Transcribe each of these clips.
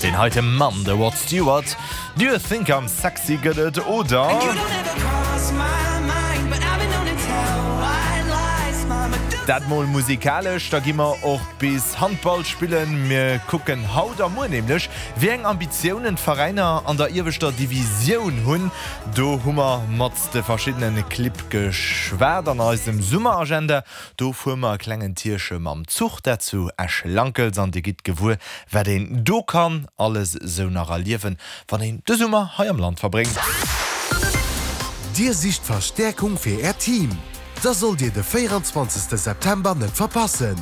Deen heite Mann, de Rod Stewart, Do You Think I'm Sexy gëtt et, oder? Dat mol musikalesch, da gi mer och bis Handball spillen. Mir kucken haut a muer nämlech, wéi eng Ambitiounen d'Veräiner an der ieweschter Divisioun hunn. Do hu mer mat de verschiddene Clibb geschwat an eisem Summeragenda. Do fuer mer e klengen Tierche mam Zuch, dat zu Esch-Lankels, an dir gitt gewuer, wat een do kann alles esou nach erliewen, wann een de Summer hei am Land verbréngt. Dir sicht Verstäerkung fir Äert Team? Da sollt Dir de 24 September net verpassen!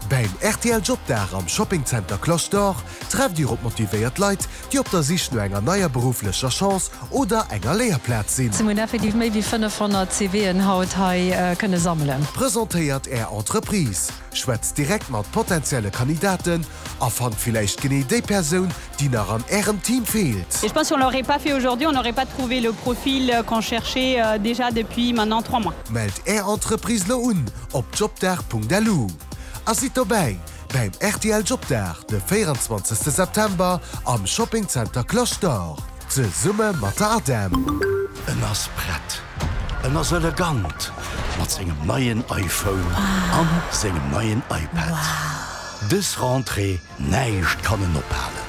Bäim rtl Jobdag am Shopping Center Cloche d'Or trefft Dir op motivéiert Leit, déi op der Sich no enger neier berufflecher Chance oder enger Léierplaz sinn. Mir hunn effektiv méi wéi 500 CVen haut hei kënne sammelen. Presentéiert Är Entreprise, schwätzt direkt mat potenzielle Kandidaten a fannt villäicht genee déi Persoun, déi nach an Ärem Team feelt. Et je pense si on l'aurait pas fait aujourd'hui, on n'aurait pas trouvé le profil qu'on cherchait déjà depuis maintenant 3 mois. Mellt Är Entreprise lo un op jobdag.lu a sidd dobäi! Bäim rtl Jobdag de 24 September am Shopping Center Cloche d'Or zesumme mat der ADEM. En ass prett, en ass elegant mat sengem neien iPhone an sengem neien iPad. Dës Rentrée, näischt kann en ophalen.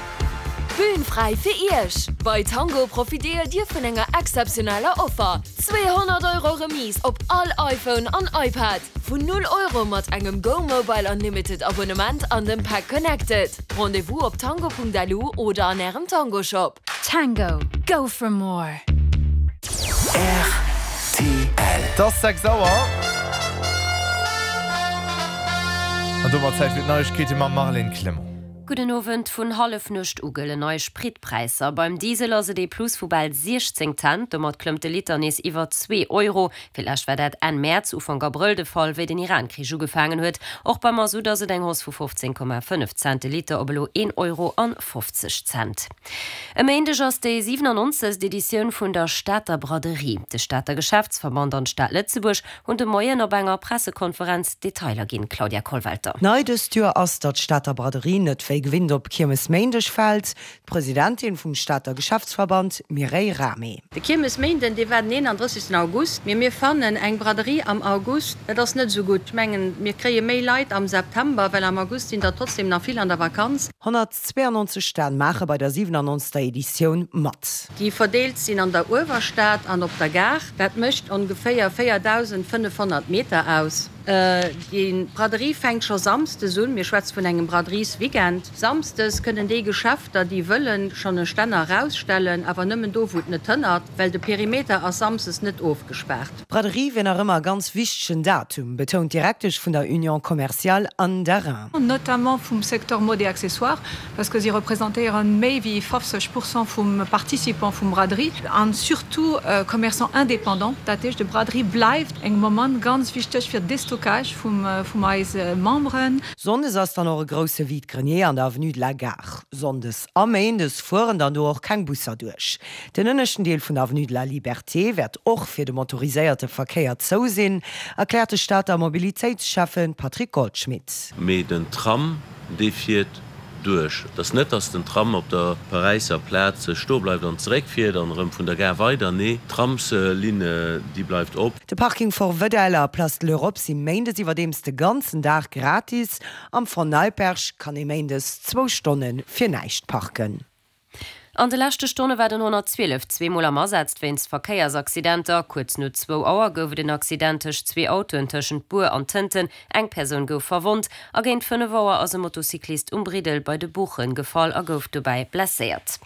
D'Bühn fräi fir Iech! Bei Tango profitéiert Dir vun enger exzeptioneller Offer, 200 Euro Remise op all iPhone an iPad! Vun 0 Euro mat engem Go Mobile Unlimited Abonnement an dem Pack Connected. Rendez-vous op tango.lu oder an ärem Tango Shop. Tango, go for more! Rtl. Et ass 6 Auer. An domat Zäit fir d'Neiegkeete mam Marlène Clement. Gudden Owend. Vun Hallefnuecht u gëllen nei Spritpräisser. Beim Diesel ass et ee Plus vu bal 16 Cent. Domat klëmmt de Liter nees iwwer zwee Euro. Fir d'lescht war dat Enn Mäerz, Ufank Abrëll de Fall, wéi den Iran-Krich ugefaangen huet. Och beim Masutt ass et eng Hausse vu 15,5 Cent de Liter op elo een Euro an 50 Cent. E Méindeg ass déi 97. Editioun vun der Stater Braderie. De Stater Geschäftsverband an d'Stad Lëtzebuerg hunn de Moien op enger Pressekonferenz Detailer ginn. Claudia Kollwelter. Nei dëst Joer ass, datt d'Stater Braderie net wéi gewinnt op Kiermesméindeg fält. D'Presidentin vum Stater Geschäftsverband, Mireille Rahmé. De Kiermesméinden, dee war den 31. August, mee mir fannen eng Braderie am August, dat ass net esou gutt. Ech mengen, mir kréie méi Leit am September, well am August sinn der trotzdem nach vill an der Vakanz. 192 Stänn maache bei der 97. Editioun mat. Déi verdeelt sinn an der Uewerstad an op der Gare. Dat mécht ongeféier 4.500 Meter aus. Déi Braderie fänkt scho samsdes un. Mir schwätze vun engem Braderiesweekend. Samsdes kënnen déi Geschäfter, déi wëllen, schonn e Stänner erausstellen, awer nëmmen do, wou et net hënnert, well de Perimeter ass samsdes net ofgespaart. D'Braderie wier nach ëmmer e ganz wichtegen Datum, betount d'Direktesch vun der Union commerciale Anne Darin. Notamment vum Secteur Mode et Accessoires, parce que si representéiere méi wéi 50 Pourcent vum Participant vum Braderie an surtout Commerçants indépendants. Dat heescht, de Braderie bleift eng Moment ganz wichteg fir Destockage vum vum eise Memberen. Sonndes ass dann och e grousse Vide-grenier an der Avenue de la Gare. Sonndes a Méindes fueren dann do och keng Busser duerch. Den ënneschten Deel vun der Avenue de la Liberté wäert och fir de motoriséierte Verkéier zou sinn, erkläert de Stater Mobilitéitsschäffe Patrick Goldschmidt. Mee den Tram, dee fiert duerch. Et ass net, datt den Tram op der Paräisser Plaz stoe bleift an zeréckfiert an erëm vun der Gare weider. Nee, d'Tramslinn, déi bleift op. De Parking Fort Wedell a Place de l'Europe si méindes iwwerdeems de ganzen Dag gratis. Am Fond Neipperg kann ee méindes zwou Stonne fir näischt parken. An de leschte Stonne war den 112 zweemol am Asaz wéinst Verkéiersaccidenter. Kuerz no zwou Auer gouf et en Accident tëscht zwee Autoen tëschent Bur an Tënten, eng Persoun gouf verwonnt. A géint 5 Auer ass e Motocyclist um Briddel bei de Buchen gefall a gouf dobäi blesséiert.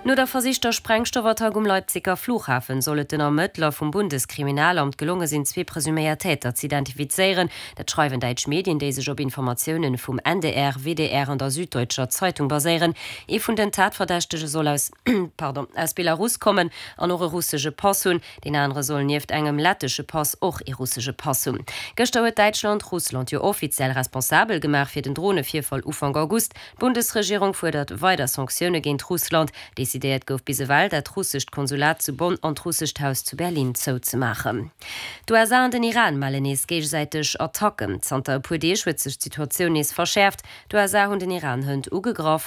No der versichter Sprengstoffattack um Leipziger Flughafen soll et den Ermëttler vum Bundeskriminalamt gelonge sinn, zwee presuméiert Täter z'identifizéieren. Dat schreiwen däitsch Medien, déi sech op Informatiounen vum NDR, WDR an der Süddeutscher Zeitung baséieren. Ee vun den Tatverdächtege soll aus, pardon, aus Belarus kommen an och e russesche Pass hunn. Deen anere soll nieft engem lettesche Pass och ee russesche Pass hunn. Gëschter huet Däitschland Russland jo offiziell responsabel gemaach fir den Dronevirfall Ufank August. D'Bundesregierung fuerdert weider Sanktioune géint Russland. Decidéiert gouf bis ewell, dat russescht Konsulat zu Bonn an d'russescht Haus zu Berlin zouzemaachen. D'USA an den Iran mellen nees géigesäiteg Attacken. Zanter e puer Deeg huet sech d'Situatioun nees verschäerft. D'USA hunn den Iran hënt ugegraff.